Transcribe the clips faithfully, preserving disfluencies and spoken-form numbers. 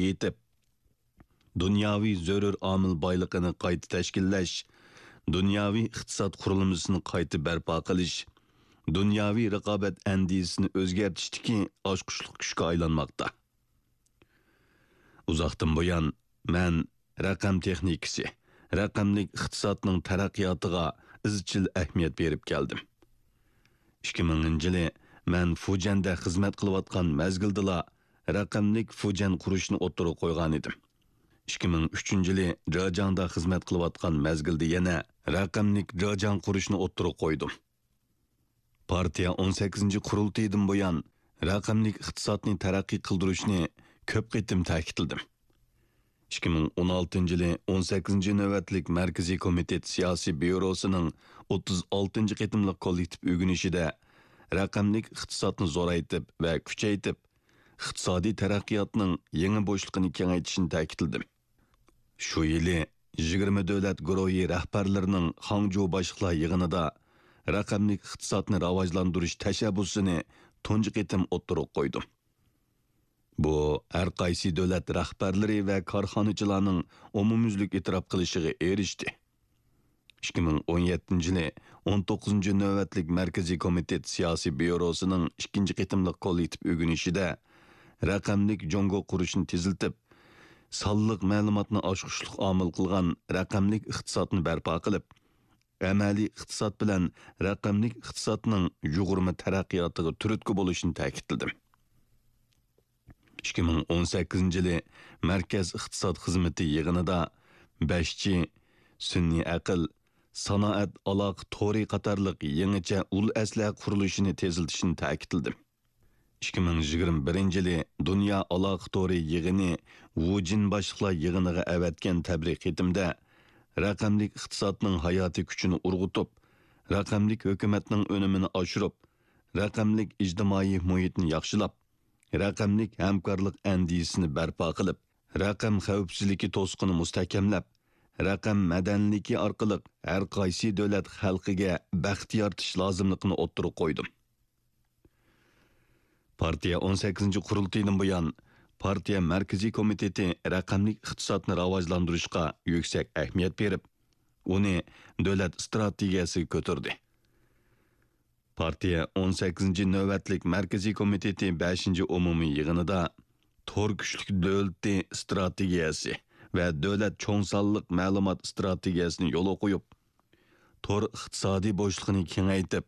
يېتىپ، دۇنياۋى زۆرۈر ئامىل بايلىقىنى قايتا تەشكىللەش، دۇنياۋى ئىقتىساد قۇرۇلمىسىنى قايتا بەرپا قىلىش، دۇنياۋى رىقابەت ئەندىزىسىنى ئۆزگەرتىشتىكى ئاچقۇچلۇق كۈچكە ئايلانماقتا. ئۇزاقتىن بۇيان، مەن رەقەم تېخنىكىسى، رەقەملىك ئىقتىسادنىڭ تەرەققىياتىغا ئىزچىل ئەھمىيەت بېرىپ كەلدىم. ئىككى مىڭىنچى يىلى مەن فۇجيەندە خىزمەت قىلىۋاتقان مەزگىلدىلا رەقەملىك فۇجيەن قۇرۇشنى ئوتتۇرىغا قويغانىدىم. ئىككى مىڭ ئۈچىنچى يىلى جېجياڭدا خىزمەت قىلىۋاتقان مەزگىلدە يەنە رەقەملىك جېجياڭ قۇرۇشنى ئوتتۇرىغا قويدۇم. پارتىيە ئون سەككىزىنچى قۇرۇلتىيىدىن بۇيان، رەقەملىك ئىقتىسادنى تەرەققىي قىلدۇرۇشنى كۆپ قېتىم تەكىتلىدىم. ئىككى مىڭ ئون ئالتىنچى يىلى ئون سەككىزىنچى نۆۋەتلىك مەركىزىي كومىتېت سىياسىي بيۇروسىنىڭ ئوتتۇز ئالتىنچى قېتىملىق كوللېكتىپ ئۆگىنىشىدە رەقەملىك ئىقتىسادنى زورايتىپ ۋە كۈچەيتىپ، ئىقتىسادىي تەرەققىياتنىڭ يېڭى بوشلۇقىنى كېڭەيتىشنى تەكىتلىدىم. شۇ يىلى يىگىرمە دۆلەت گۇرۇھى رەھبەرلىرىنىڭ خاڭجۇ باشلىقلار يىغىنىدا رەقەملىك ئىقتىسادنى راۋاجلاندۇرۇش تەشەببۇسىنى تۇنجى قېتىم ئوتتۇرىغا قويدۇم. بۇ، ھەر قايسى دۆلەت رەھبەرلىرى ۋە كارخانىچىلارنىڭ ئومۇميۈزلۈك ئېتىراپ قىلىشىغا ئېرىشتى. ئىككى مىڭ ئون يەتتىنچى يىلى ئون توققۇزىنچى نۆۋەتلىك مەركىزىي كومىتېت سىياسىي بيۇروسىنىڭ ئىككىنچى قېتىملىق كوللېكتىپ ئۆگىنىشىدە رەقەملىك جۇڭگو قۇرۇشنى تېزلىتىپ، سانلىق مەلۇماتنى ئاچقۇچلۇق ئامىل قىلغان رەقەملىك ئىقتىسادنى بەرپا قىلىپ، ئەمەلىي ئىقتىساد بىلەن رەقەملىك ئىقتىسادنىڭ يۇغۇرما تەرەققىياتىغا تۈرتكە بولۇشنى تەكىتلىدىم. ئىككى مىڭ ئون سەككىزىنچى يىلى مەركەز ئىقتىساد خىزمىتى يىغىنىدا بەش جى، سۈنئىي ئەقىل، سانائەت ئالاقە تورى قاتارلىق يېڭىچە ئۇل ئەسلىھە قۇرۇلۇشىنى تېزلىتىشنى تەكىتلىدىم. ئىككى مىڭ يىگىرمە بىرىنچى يىلى دۇنيا ئالاقە تورى يىغىنى ۋۇجىن باشلىقلار يىغىنىغا ئەۋەتكەن تەبرىك خېتىمدە، رەقەملىك ئىقتىسادنىڭ ھاياتىي كۈچىنى ئۇرغۇتۇپ، رەقەملىك ھۆكۈمەتنىڭ ئۈنۈمىنى ئاشۇرۇپ، رەقەملىك ئىجتىمائىي مۇھىتنى ياخشىلاپ، رەقەملىك ھەمكارلىق ئەندىزىسىنى بەرپا قىلىپ، رەقەم خەۋپسىزلىكى توسۇقىنى مۇستەھكەملەپ، رەقەم مەدەنىيلىكى ئارقىلىق ھەر قايسى دۆلەت خەلقىگە بەخت يارىتىش لازىملىقىنى ئوتتۇرىغا قويدۇم. پارتىيە ئون سەككىزىنچى قۇرۇلتىيىدىن بۇيان، پارتىيە مەركىزىي كومىتېتى رەقەملىك ئىقتىسادنى راۋاجلاندۇرۇشقا يۈكسەك ئەھمىيەت بېرىپ، ئۇنى دۆلەت ئىستراتېگىيەسىگە كۆتۈردى. پارتىيە ئون سەككىزىنچى نۆۋەتلىك مەركىزىي كومىتېتى بەشىنچى ئومۇمىي يىغىنىدا تور كۈچلۈك دۆلىتى ئىستراتېگىيەسى ۋە دۆلەت چوڭ سانلىق مەلۇمات ئىستراتېگىيەسىنى يولغا قويۇپ، تور ئىقتىسادىي بوشلۇقىنى كېڭەيتىپ،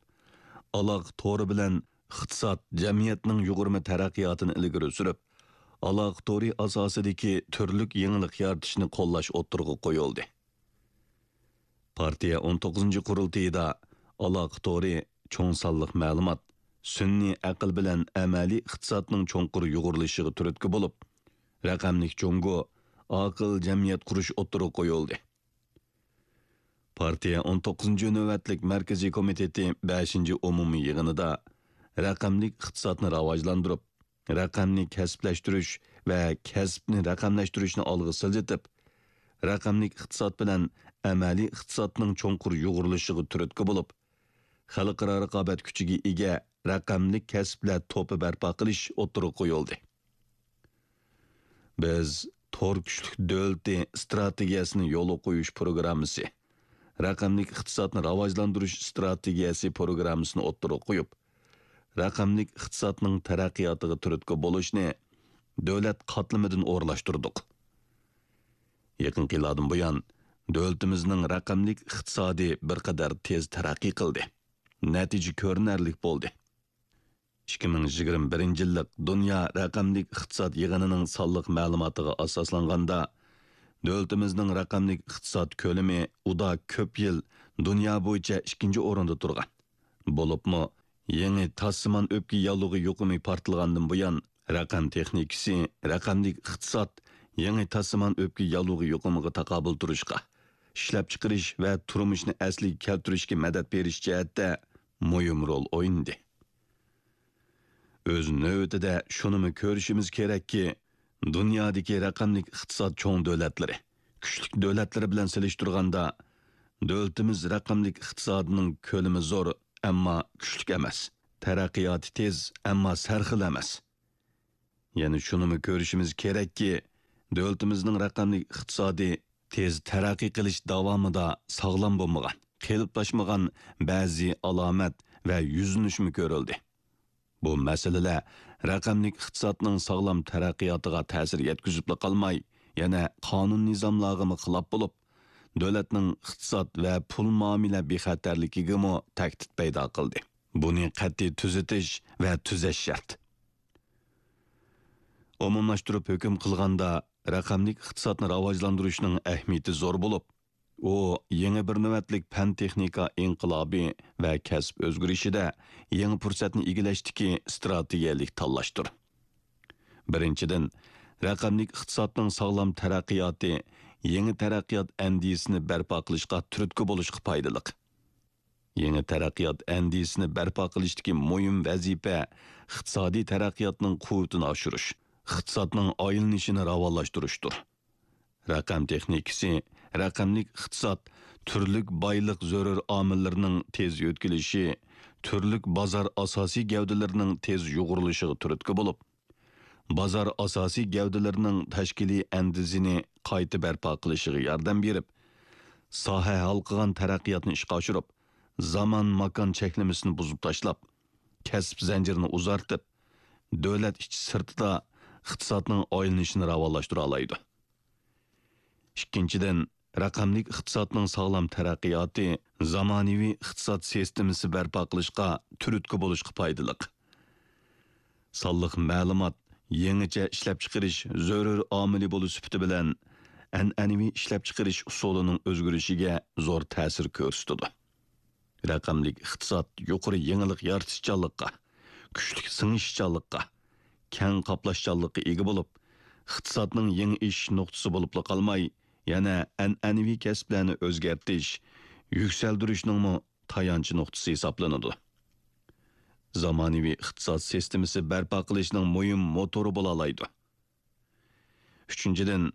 ئالاقە تورى بىلەن ئىقتىساد، جەمئىيەتنىڭ يۇغۇرما تەرەققىياتىنى ئىلگىرى سۈرۈپ، ئالاقە تورى ئاساسىدىكى تۈرلۈك يېڭىلىق يارىتىشنى قوللاش ئوتتۇرىغا قويۇلدى. پارتىيە ئون توققۇزىنچى قۇرۇلتىيىدا ئالاقە تورى، چوڭ سانلىق مەلۇمات، سۈنئىي ئەقىل بىلەن ئەمەلىي ئىقتىسادنىڭ چوڭقۇر يۇغۇرۇلۇشىغا تۈرتكە بولۇپ، رەقەملىك جۇڭگو، ئاقىل جەمئىيەت قۇرۇش ئوتتۇرىغا قويۇلدى. پارتىيە ئون توققۇزىنچى نۆۋەتلىك مەركىزىي كومىتېتى بەشىنچى ئومۇمىي يىغىنىدا رەقەملىك ئىقتىسادنى راۋاجلاندۇرۇپ، رەقەمنى كەسىپلەشتۈرۈش ۋە كەسىپنى رەقەملەشتۈرۈشنى ئالغا سىلجىتىپ، رەقەملىك ئىقتىساد بىلەن ئەمەلىي ئىقتىسادنىڭ چوڭقۇر يۇغۇرۇلۇشىغا تۈرتكە بولۇپ، خەلقئارا رىقابەت كۈچىگە ئىگە رەقەملىك كەسىپلەر توپى بەرپا قىلىش ئوتتۇرىغا قويۇلدى. بىز تور كۈچلۈك دۆلىتى ئىستراتېگىيەسىنى يولغا قويۇش پروگراممىسى، رەقەملىك ئىقتىسادنى راۋاجلاندۇرۇش ئىستراتېگىيەسى پروگراممىسىنى ئوتتۇرىغا قويۇپ، رەقەملىك ئىقتىسادنىڭ تەرەققىياتىغا تۈرتكە بولۇشنى دۆلەت قاتلىمىدىن ئورۇنلاشتۇردۇق. يېقىنقى يىللاردىن بۇيان، دۆلىتىمىزنىڭ رەقەملىك ئىقتىسادى بىر قەدەر تېز تەرەققىي قىلدى. نەتىجە كۆرۈنەرلىك بولدى. ئىككى مىڭ يىگىرمە بىرىنچى يىللىق دۇنيا رەقەملىك ئىقتىساد يىغىنىنىڭ سانلىق مەلۇماتىغا ئاساسلانغاندا، دۆلىتىمىزنىڭ رەقەملىك ئىقتىساد كۆلىمى ئۇدا كۆپ يىل دۇنيا بويىچە ئىككىنچى ئورۇندا تۇرغان. بولۇپمۇ، يېڭى تاسسىمان ئۆپكە ياللۇغى يۇقۇمى پارتلىغاندىن بۇيان، رەقەم تېخنىكىسى، رەقەملىك ئىقتىساد يېڭى تاسسىمان ئۆپكە ياللۇغى يۇقۇمىغا تاقابىل تۇرۇشقا، ئىشلەپچىقىرىش ۋە تۇرمۇشنى ئەسلىگە كەلتۈرۈشكە مەدەت بېرىش جەھەتتە مۇھىم رول ئوينىدى. ئۆز نۆۋىتىدە شۇنىمۇ كۆرۈشىمىز كېرەككى، دۇنيادىكى رەقەملىك ئىقتىساد چوڭ دۆلەتلىرى، كۈچلۈك دۆلەتلىرى بىلەن سېلىشتۇرغاندا، دۆلىتىمىز رەقەملىك ئىقتىسادىنىڭ كۆلىمى زور، ئەمما كۈچلۈك ئەمەس. تەرەققىياتى تېز، ئەمما سەرخىل ئەمەس. يەنە شۇنىمۇ كۆرۈشىمىز كېرەككى، دۆلىتىمىزنىڭ رەقەملىك ئىقتىسادى تېز تەرەققىي قىلىش داۋامىدا ساغلام بولمىغان، قېلىپلاشمىغان بەزى ئالامەت ۋە يۈزلىنىشمۇ كۆرۈلدى. بۇ مەسىلىلەر رەقەملىك ئىقتىسادنىڭ ساغلام تەرەققىياتىغا تەسىر يەتكۈزۈپلا قالماي، يەنە قانۇن-نىزاملارغىمۇ خىلاپ بولۇپ، دۆلەتنىڭ ئىقتىساد ۋە پۇل مۇئامىلە بىخەتەرلىكىگىمۇ تەھدىت پەيدا قىلدى. بۇنى قەتئىي تۈزىتىش ۋە تۈزەش شەرت. ئومۇملاشتۇرۇپ ھۆكۈم قىلغاندا، رەقەملىك ئىقتىسادنى راۋاجلاندۇرۇشنىڭ ئەھمىيىتى زور بولۇپ، ئۇ يېڭى بىر نۆۋەتلىك پەن-تېخنىكا ئىنقىلابى ۋە كەسىپ ئۆزگىرىشىدە يېڭى پۇرسەتنى ئىگىلەشتىكى ئىستراتېگىيەلىك تاللاشتۇر. بىرىنچىدىن، رەقەملىك ئىقتىسادنىڭ ساغلام تەرەققىياتى يېڭى تەرەققىيات ئەندىزىسىنى بەرپا قىلىشقا تۈرتكە بولۇشقا پايدىلىق. يېڭى تەرەققىيات ئەندىزىسىنى بەرپا قىلىشتىكى مۇھىم ۋەزىپە ئىقتىسادىي تەرەققىياتنىڭ قۇۋۋىتىنى ئاشۇرۇش، ئىقتىسادنىڭ ئايلىنىشىنى راۋانلاشتۇرۇشتۇر. رەقەم تېخنىكىسى، رەقەملىك ئىقتىساد تۈرلۈك بايلىق زۆرۈر ئامىللىرىنىڭ تېز يۆتكىلىشى، تۈرلۈك بازار ئاساسىي گەۋدىلىرىنىڭ تېز يۇغۇرۇلۇشىغا تۈرتكە بولۇپ، بازار ئاساسىي گەۋدىلىرىنىڭ تەشكىلىي ئەندىزىنى قايتا بەرپا قىلىشىغا ياردەم بېرىپ، ساھە ھالقىغان تەرەققىياتنى ئىشقا ئاشۇرۇپ، زامان-ماكان چەكلىمىسىنى بۇزۇپ تاشلاپ، كەسىپ زەنجىرىنى ئۇزارتىپ، دۆلەت ئىچى سىرتىدا ئىقتىسادنىڭ ئايلىنىشىنى راۋانلاشتۇرالايدۇ. ئىككىنچىدىن، رەقەملىك ئىقتىسادنىڭ ساغلام تەرەققىياتى زامانىۋى ئىقتىساد سىستېمىسى بەرپا قىلىشقا تۈرتكە بولۇشقا پايدىلىق. سانلىق مەلۇمات يېڭىچە ئىشلەپچىقىرىش زۆرۈر ئامىلى بولۇش سۈپىتى بىلەن، ئەنئەنىۋى ئىشلەپچىقىرىش ئۇسۇلىنىڭ ئۆزگىرىشىگە زور تەسىر كۆرسىتىدۇ. رەقەملىك ئىقتىساد يۇقىرى يېڭىلىق يارىتىشچانلىققا، كۈچلۈك سىڭىشچانلىققا، كەڭ قاپلاشچانلىققا ئىگە بولۇپ، ئىقتىسادنىڭ يېڭى ئېشىش نۇقتىسى بولۇپلا قالماي، يەنە ئەنئەنىۋى كەسىپلەرنى ئۆزگەرتىش، يۈكسەلدۈرۈشنىڭمۇ تايانچ نۇقتىسى ھېسابلىنىدۇ. زامانىۋى ئىقتىساد سىستېمىسى بەرپا قىلىشنىڭ مۇھىم موتورى بولالايدۇ. ئۈچىنچىدىن،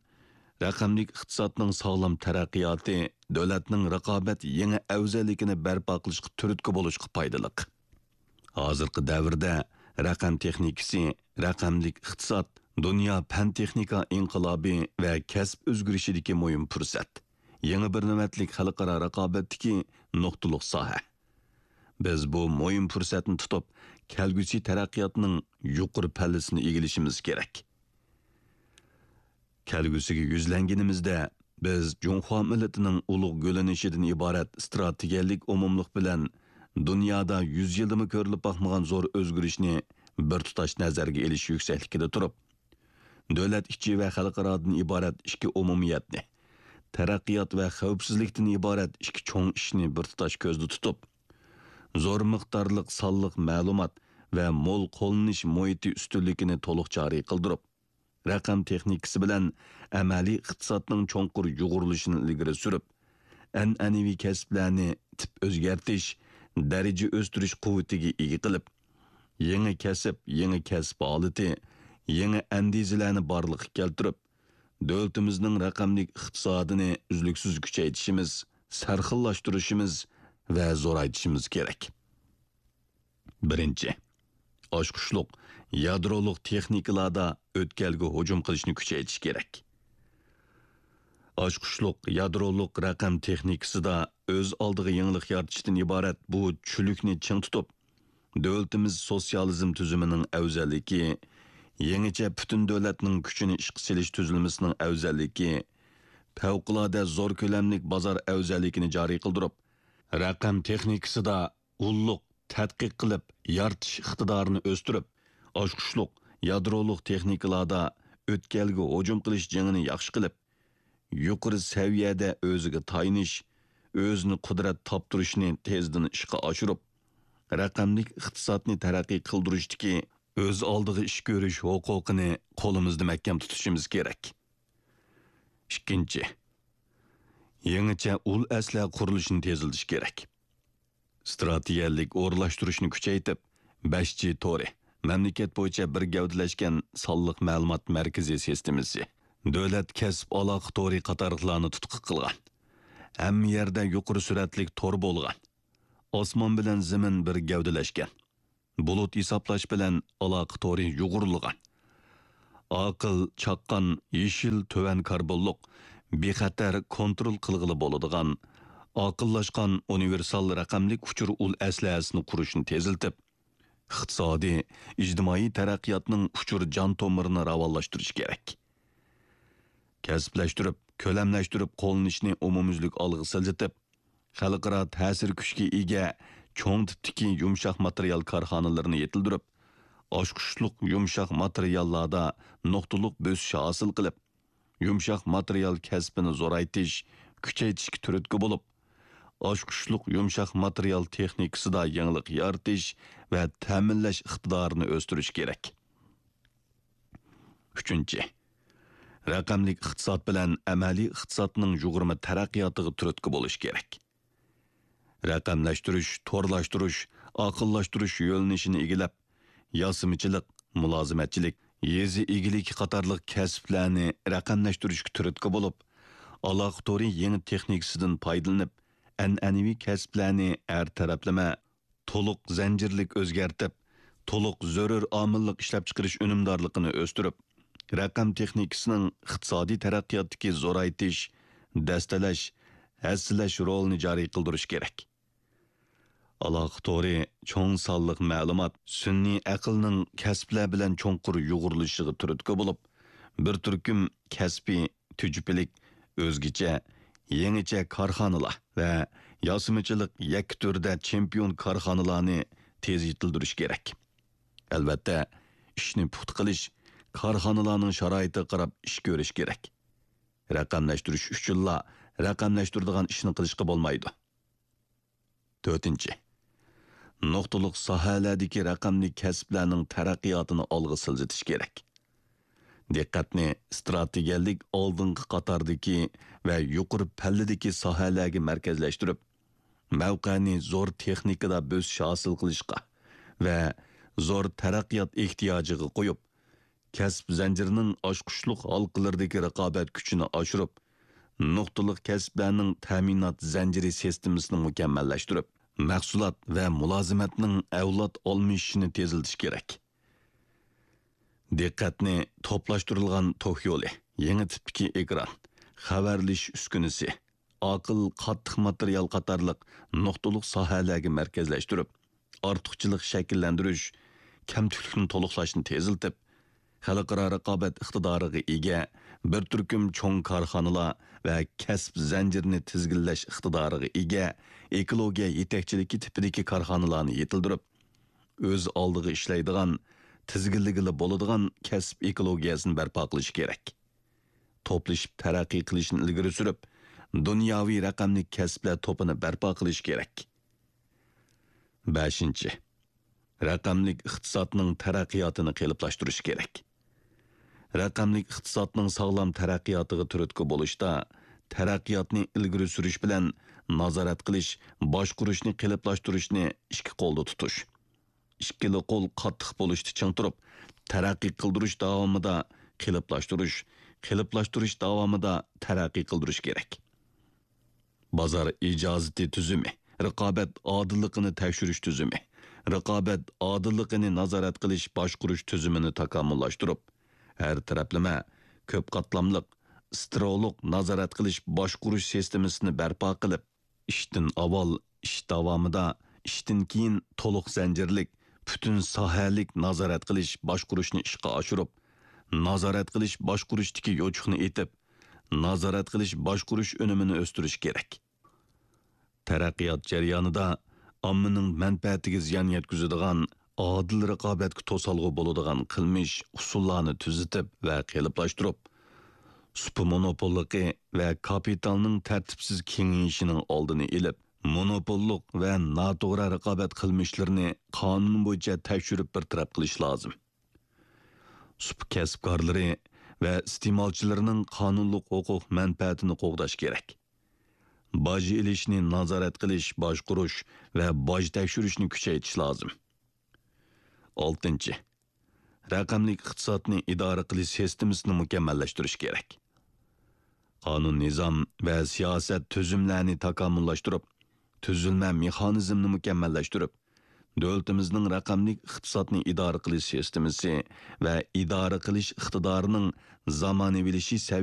رەقەملىك ئىقتىسادنىڭ ساغلام تەرەققىياتى دۆلەتنىڭ رىقابەت يېڭى ئەۋزەللىكىنى بەرپا قىلىشقا تۈرتكە بولۇشقا پايدىلىق. ھازىرقى دەۋردە رەقەم تېخنىكىسى، رەقەملىك ئىقتىساد، دۇنيا پەن-تېخنىكا ئىنقىلابى ۋە كەسىپ ئۆزگىرىشىدىكى مۇھىم پۇرسەت، يېڭى بىر نۆۋەتلىك خەلقئارا رىقابەتتىكى نۇقتىلىق ساھە. بىز بۇ مۇھىم پۇرسەتنى تۇتۇپ، كەلگۈسى تەرەققىياتنىڭ يۇقىرى پەللىسىنى ئىگىلىشىمىز كېرەك. كەلگۈسىگە يۈزلەنگىنىمىزدە، بىز جۇڭخۇا مىللىتىنىڭ ئۇلۇغ گۈللىنىشىدىن ئىبارەت ئىستراتېگىيەلىك ئومۇملۇق بىلەن دۇنيادا يۈز يىلدىمۇ كۆرۈلۈپ باقمىغان زور ئۆزگىرىشنى بىر تۇتاش نەزەرگە ئېلىش يۈكسەكلىكىدە تۇرۇپ، دۆلەت ئىچى ۋە خەلقئارادىن ئىبارەت ئىككى ئومۇمىيەتنى، تەرەققىيات ۋە خەۋپسىزلىكتىن ئىبارەت ئىككى چوڭ ئىشنى بىر تۇتاش كۆزدە تۇتۇپ، زور مىقدارلىق سانلىق مەلۇمات ۋە مول قوللىنىش مۇھىتى ئۈستۈنلۈكىنى تولۇق جارى قىلدۇرۇپ، رەقەم تېخنىكىسى بىلەن ئەمەلىي ئىقتىسادنىڭ چوڭقۇر يۇغۇرۇلۇشىنى ئىلگىرى سۈرۈپ، ئەنئەنىۋى كەسىپلەرنى تىپ ئۆزگەرتىش، دەرىجە ئۆستۈرۈش قۇۋۋىتىگە ئىگە قىلىپ، يېڭى كەسىپ، يېڭى كەسىپ ھالىتى، يېڭى ئەندىزىلەرنى بارلىققا كەلتۈرۈپ، دۆلىتىمىزنىڭ رەقەملىك ئىقتىسادىنى ئۈزلۈكسىز كۈچەيتىشىمىز، سەرخىللاشتۇرۇشىمىز ۋە زورايتىشىمىز كېرەك. بىرىنچى، ئاچقۇچلۇق يادرولۇق تېخنىكىلاردا ئۆتكەلگە ھۇجۇم قىلىشنى كۈچەيتىش كېرەك. ئاچقۇچلۇق يادرولۇق رەقەم تېخنىكىسىدا ئۆز ئالدىغا يېڭىلىق يارىتىشتىن ئىبارەت بۇ چۈلۈكنى چىڭ تۇتۇپ، دۆلىتىمىز سوتسىيالىزم تۈزۈمىنىڭ ئەۋزەللىكى، يېڭىچە پۈتۈن دۆلەتنىڭ كۈچىنى ئىشقا سېلىش تۈزۈلمىسىنىڭ ئەۋزەللىكى، پەۋقۇلئاددە زور كۆلەملىك بازار ئەۋزەللىكىنى جارى قىلدۇرۇپ، رەقەم تېخنىكىسىدا ئۇللۇق تەتقىق قىلىپ يارىتىش ئىقتىدارىنى ئۆستۈرۈپ، ئاچقۇچلۇق يادرولۇق تېخنىكىلاردا ئۆتكەلگە ھۇجۇم قىلىش جېڭىنى ياخشى قىلىپ، يۇقىرى سەۋىيەدە ئۆزىگە تايىنىش، ئۆزىنى قۇدرەت تاپتۇرۇشنى تېزدىن ئىشقا ئاشۇرۇپ، رەقەملىك ئىقتىسادنى تەرەققىي قىلدۇرۇشتىكى ئۆز ئالدىغا ئىش كۆرۈش ھوقۇقىنى قولىمىزدا مەھكەم تۇتۇشىمىز كېرەك. ئىككىنچى، يېڭىچە ئۇل ئەسلىھە قۇرۇلۇشىنى تېزلىتىش كېرەك. ئىستراتېگىيەلىك ئورۇنلاشتۇرۇشنى كۈچەيتىپ، بەش جى تورى، مەملىكەت بويىچە بىر گەۋدىلەشكەن سانلىق مەلۇمات مەركىزى سىستېمىسى، دۆلەت كەسىپ ئالاقە تورى قاتارلىقلارنى تۇتقا قىلغان. ھەممە يەردە يۇقىرى سۈرئەتلىك تور بولغان. ئاسمان بىلەن زېمىن بىر گەۋدىلەشكەن. بۇلۇت ھېسابلاش بىلەن ئالاقە تورى يۇغۇرۇلغان. ئاقىل، چاققان، يېشىل، تۆۋەن كاربونلۇق، بىخەتەر، كونترول قىلغىلى بولىدىغان، ئاقىللاشقان ئۇنىۋېرسال رەقەملىك ئۇچۇر ئۇل ئەسلىھەسىنى قۇرۇشنى تېزلىتىپ، ئىقتىسادىي، ئىجتىمائىي تەرەققىياتنىڭ ئۇچۇر جان تومۇرىنى راۋانلاشتۇرۇش كېرەك. كەسىپلەشتۈرۈپ، كۆلەملەشتۈرۈپ قوللىنىشنى ئومۇميۈزلۈك ئالغا سىلجىتىپ، خەلقئارا تەسىر كۈچكە ئىگە چوڭ تىپتىكى يۇمشاق ماتېرىيال كارخانىلىرىنى يېتىلدۈرۈپ، ئاچقۇچلۇق يۇمشاق ماتېرىياللاردا نۇقتىلىق بۆسۈش ھاسىل قىلىپ، يۇمشاق ماتېرىيال كەسپىنى زورايتىش، كۈچەيتىشكە تۈرتكە بولۇپ، ئاچقۇچلۇق يۇمشاق ماتېرىيال تېخنىكىسىدا يېڭىلىق يارىتىش ۋە تەمىنلەش ئىقتىدارىنى ئۆستۈرۈش كېرەك. ئۈچىنچى، رەقەملىك ئىقتىساد بىلەن ئەمەلىي ئىقتىسادنىڭ يۇغۇرما تەرەققىياتىغا تۈرتكە بولۇش كېرەك. رەقەملەشتۈرۈش، تورلاشتۇرۇش، ئاقىللاشتۇرۇش يۆنىلىشىنى ئىگىلەپ، ياسىمىچىلىق، مۇلازىمەتچىلىك، يېزا ئىگىلىكى قاتارلىق كەسىپلەرنى رەقەملەشتۈرۈشكە تۈرتكە بولۇپ، ئالاقە تورى يېڭى تېخنىكىسىدىن پايدىلىنىپ، ئەنئەنىۋى كەسىپلەرنى ھەر تەرەپلىمە، تولۇق زەنجىرلىك ئۆزگەرتىپ، تولۇق زۆرۈر ئامىللىق ئىشلەپچىقىرىش ئۈنۈمدارلىقىنى ئۆستۈرۈپ، رەقەم تېخنىكىسىنىڭ ئىقتىسادىي تەرەققىياتتىكى زورايتىش، دەستىلەش، ھەسسىلەش رولىنى جارى قىلدۇرۇش كېرەك. ئالاقە تورى چوڭ سانلىق مەلۇمات، سۈنئىي ئەقىلنىڭ كەسىپلەر بىلەن چوڭقۇر يۇغۇرۇلۇشىغا تۈرتكە بولۇپ، بىر تۈركۈم كەسپىي، تۈجۈپىلىك، ئۆزگىچە، يېڭىچە كارخانىلار ۋە ياسىمىچىلىق يەككە تۈردە چېمپىيون كارخانىلارنى تېز يېتىلدۈرۈش كېرەك. ئەلۋەتتە، ئىشنى پۇختا قىلىش، كارخانىلارنىڭ شارائىتىغا قاراپ ئىش كۆرۈش كېرەك. رەقەملەشتۈرۈش ئۈچۈنلا رەقەملەشتۈرىدىغان ئىشنى قىلىشقا بولمايدۇ. تۆتىنچى، نۇقتىلىق ساھەلەردىكى رەقەملىك كەسىپلەرنىڭ تەرەققىياتىنى ئالغا سىلجىتىش كېرەك. دىققەتنى ئىستراتېگىيەلىك ئالدىنقى قاتاردىكى ۋە يۇقىرى پەللىدىكى ساھەلەرگە مەركەزلەشتۈرۈپ، مەۋقەنى زور تېخنىكىدا بۆسۈش ھاسىل قىلىشقا ۋە زور تەرەققىيات ئېھتىياجىغا قويۇپ، كەسىپ زەنجىرىنىڭ ئاچقۇچلۇق ھالقىلىرىدىكى رىقابەت كۈچىنى ئاشۇرۇپ، نۇقتىلىق كەسىپلەرنىڭ تەمىنات زەنجىرى سىستېمىسىنى مۇكەممەللەشتۈرۈپ، مەھسۇلات ۋە مۇلازىمەتنىڭ ئەۋلاد ئالمىشىشىنى تېزلىتىش كېرەك. دىققەتنى توپلاشتۇرۇلغان توك يولى، يېڭى تىپتىكى ئېكران، خەۋەرلىشىش ئۈسكۈنىسى، ئاقىل قاتتىق ماتېرىيال قاتارلىق نۇقتىلىق ساھەلەرگە مەركەزلەشتۈرۈپ، ئارتۇقچىلىق شەكىللەندۈرۈش، كەمتۈكلۈكنى تولۇقلاشنى تېزلىتىپ، خەلقئارا رىقابەت ئىقتىدارىغا ئىگە بىر تۈركۈم چوڭ كارخانىلار ۋە كەسىپ زەنجىرىنى تىزگىنلەش ئىقتىدارىغا ئىگە ئېكولوگىيە يېتەكچىلىكى تىپىدىكى كارخانىلارنى يېتىلدۈرۈپ، ئۆز ئالدىغا ئىشلەيدىغان، تىزگىنلىگىلى بولىدىغان كەسىپ ئېكولوگىيەسىنى بەرپا قىلىش كېرەك. توپلىشىپ تەرەققىي قىلىشنى ئىلگىرى سۈرۈپ، دۇنياۋى رەقەملىك كەسىپلەر توپىنى بەرپا قىلىش كېرەك. بەشىنچى، رەقەملىك ئىقتىسادنىڭ تەرەققىياتىنى قېلىپلاشتۇرۇش كېرەك. رەقەملىك ئىقتىسادنىڭ ساغلام تەرەققىياتىغا تۈرتكە بولۇشتا، تەرەققىياتنى ئىلگىرى سۈرۈش بىلەن نازارەت قىلىش، باشقۇرۇشنى قېلىپلاشتۇرۇشنى ئىككى قولدا تۇتۇش، ئىككىلا قول قاتتىق بولۇشتا چىڭ تۇرۇپ، تەرەققىي قىلدۇرۇش داۋامىدا قېلىپلاشتۇرۇش، قېلىپلاشتۇرۇش داۋامىدا تەرەققىي قىلدۇرۇش كېرەك. بازار ئىجازىتى تۈزۈمى، رىقابەت ئادىللىقىنى تەكشۈرۈش تۈزۈمى، رىقابەت ئادىللىقىنى نازارەت قىلىش باشقۇرۇش تۈزۈمىنى تاكامۇللاشتۇرۇپ، ھەر تەرەپلىمە، كۆپ قاتلاملىق، سترولۇق نازارەت قىلىش باشقۇرۇش سىستېمىسىنى بەرپا قىلىپ، ئىشتىن ئاۋۋال، ئىش داۋامىدا، ئىشتىن كېيىن تولۇق زەنجىرلىك، پۈتۈن ساھەلىك نازارەت قىلىش باشقۇرۇشنى ئىشقا ئاشۇرۇپ، نازارەت قىلىش باشقۇرۇشتىكى يوچۇقنى ئېتىپ، نازارەت قىلىش باشقۇرۇش ئۈنۈمىنى ئۆستۈرۈش كېرەك. تەرەققىيات جەريانىدا ئاممىنىڭ مەنپەئەتىگە زىيان يەتكۈزىدىغان، ئادىل رىقابەتكە توسالغۇ بولىدىغان قىلمىش، ئۇسۇللارنى تۈزىتىپ ۋە قېلىپلاشتۇرۇپ، سۇپا مونوپوللۇقى ۋە كاپىتالنىڭ تەرتىپسىز كېڭىيىشىنىڭ ئالدىنى ئېلىپ، مونوپوللۇق ۋە ناتوغرا رىقابەت قىلمىشلىرىنى قانۇن بويىچە تەكشۈرۈپ بىر تەرەپ قىلىش لازىم. سۇپا كەسىپكارلىرى ۋە ئىستېمالچىلىرىنىڭ قانۇنلۇق ھوقۇق مەنپەئەتىنى قوغداش كېرەك. باج ئېلىشنى نازارەت قىلىش، باشقۇرۇش ۋە باج تەكشۈرۈشنى كۈچەيتىش لازىم. ئالتىنچى، رەقەملىك ئىقتىسادنى ئىدارە قىلىش سىستېمىسىنى مۇكەممەللەشتۈرۈش كېرەك. قانۇن-نىزام ۋە سىياسەت تۈزۈملەرنى تاكامۇللاشتۇرۇپ، تۈزۈلمە مېخانىزمنى مۇكەممەللەشتۈرۈپ، دۆلىتىمىزنىڭ رەقەملىك ئىقتىسادنى ئىدارە قىلىش سىستېمىسى ۋە ئىدارە قىلىش ئىقتىدارىنىڭ زامانىۋىلىشىش سەۋىيەسى